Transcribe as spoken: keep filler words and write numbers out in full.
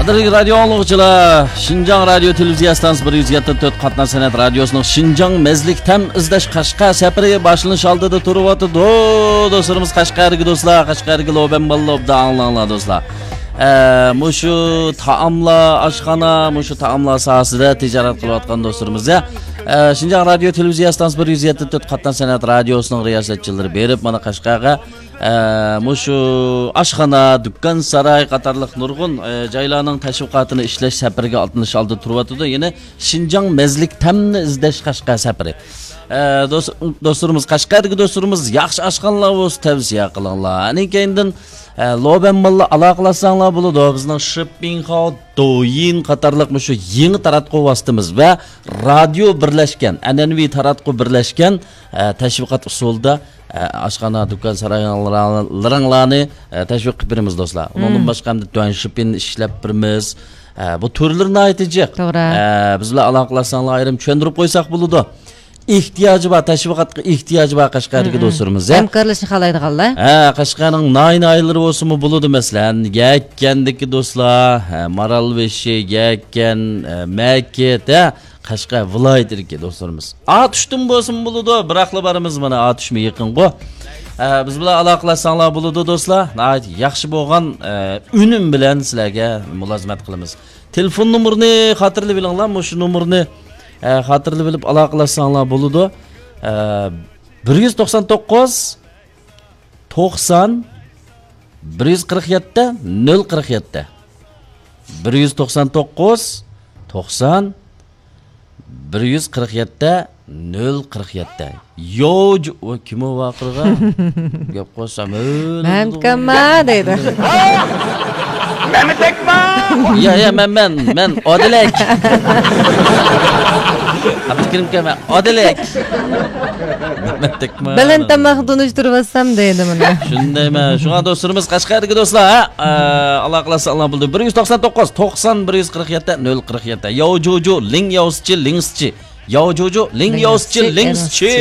قەدىرلىك رادىيو ئاڭلىغۇچىلار، شىنجاڭ رادىيو تېلېۋىزىيە ئىستانسىسى بىر يۈز يەتتە تۆت قاتناش سەنئەت رادىيوسىنىڭ شىنجاڭ مەزلىك تەم ئىزدەش قەشقەر سەپىرى باشلىنىش ئالدىدا تۇرۇۋاتىدۇ. دوستلىرىمىز قەشقەردىكى دوستلار، قەشقەردىكى لوبەن باللا ئوبدان ئاڭلاڭلار دوستلار. ئە، مۇشۇ تائاملار، ئاشخانا، مۇشۇ تائاملار ساھەسىدە تىجارەت قىلىۋاتقان دوستلىرىمىز يا. ئە، شىنجاڭ رادىيو تېلېۋىزىيە ئىستانسىسى بىر يۈز يەتتە تۆت قاتناش سەنئەت رادىيوسىنىڭ رىياسەتچىلىرى بېرىپ، مانا قەشقەرگە ئە، مۇشۇ ئاشخانا، دۇكان، ساراي قاتارلىق نۇرغۇن، ئە، جايلارنىڭ تەشۋىقاتىنى ئىشلەش سەپىرىگە ئاتلىنىش ئالدىدا تۇرۇۋاتىدۇ. يەنى شىنجاڭ مەزلىك تەمنى ئىزدەش قەشقەر سەپىرى. ئە، دوست-، دوستلىرىمىز، قەشقەردىكى دوستلىرىمىز ياخشى ئاشخانىلار بولسا تەۋسىيە قىلىڭلار. ئەنە كەينىدىن، ئە، لوبەن باللا ئالاقىلاشساڭلار بولىدۇ. بىزنىڭ شىپىڭخاۋ، دويىن قاتارلىق مۇشۇ يېڭى تاراتقۇ ۋاسىتىمىز ۋە رادىيو بىرلەشكەن، ئەنئەنىۋى تاراتقۇ بىرلەشكەن، ئە، تەشۋىقات ئۇسۇلىدا ئە، ئاشخانا، دۇكان، سارايلىرىڭلارنى، ئە، تەشۋىق قىلىپ بېرىمىز، دوستلار. ئۇنىڭدىن باشقا ھەمدە تۈەنشىپىن ئىشلەپ بېرىمىز. ئە، بۇ تۈرلىرى ناھايىتى جىق. توغرا. ئە، بىز بىلەن ئالاقىلاشساڭلار، ئايرىم چۈشەندۈرۈپ قويساق بولىدۇ. ئېھتىياجى بار، تەشۋىقاتقا ئېھتىياجى بار قەشقەردىكى دوستلىرىمىز، ھە؟ ھەمكارلىشىشنى خالايدىغانلار. ھە، قەشقەرنىڭ ناھىيە، ناھىيەلىرى بولسىمۇ بولىدۇ، مەسىلەن، يەككەندىكى دوستلار، ھە، مارالبېشى، يەككەن، ھە، مەكىت، ھە، قەشقەر ۋىلايىتىدىكى دوستلىرىمىز. ئاتۇشتىن بولسىمۇ بولىدۇ، بىراقلا بارىمىز، مانا ئاتۇشمۇ يېقىنغۇ. ئە، بىز بىلەن ئالاقىلاشساڭلار بولىدۇ، دوستلار. ناھايىتى ياخشى بولغان، ئە، ئۈنۈم بىلەن سىلەرگە مۇلازىمەت قىلىمىز. تېلېفون نومۇرىنى خاتىرىلىۋېلىڭلار، مۇشۇ نومۇرنى، ئە، خاتىرىلىۋېلىپ ئالاقىلاشساڭلار بولىدۇ. ئە، بىر يۈز توقسان توققۇز، توقسان، بىر يۈز قىرىق يەتتە، نۆل قىرىق يەتتە. بىر يۈز توقسان توققۇز، توقسان، بىر يۈز قىرىق يەتتە، نۆل قىرىق يەتتە. يوج-، ۋاي، كىم ئۇ ۋارقىرىغان؟ گەپ قىلسام، ھۆل مەن دېدىغۇ. كىمما دەيدۇ. مەمتەكما! يا، يا، مەن، مەن، مەن ئادىلەك. ئابدۇكېرىمكە، مەن ئادىلەك. مەمتەكما. بەلەن تاماق تونۇشتۇرۇۋاتسام دەيدۇ مانا. شۇندايمەن. شۇڭا دوستلىرىمىز قەشقەردىكى دوستلار، ھە؟ ئە، ئالاقىلاشساڭلار بولدى. بىر يۈز توقسان توققۇز، توقسان، بىر يۈز قىرىق يەتتە، نۆل قىرىق يەتتە. ياۋجۇجۇ، لىڭ ياۋسىچى، لىڭسىچى. ياۋجۇجۇ، لىڭ ياۋسىچى، لىڭسىچى.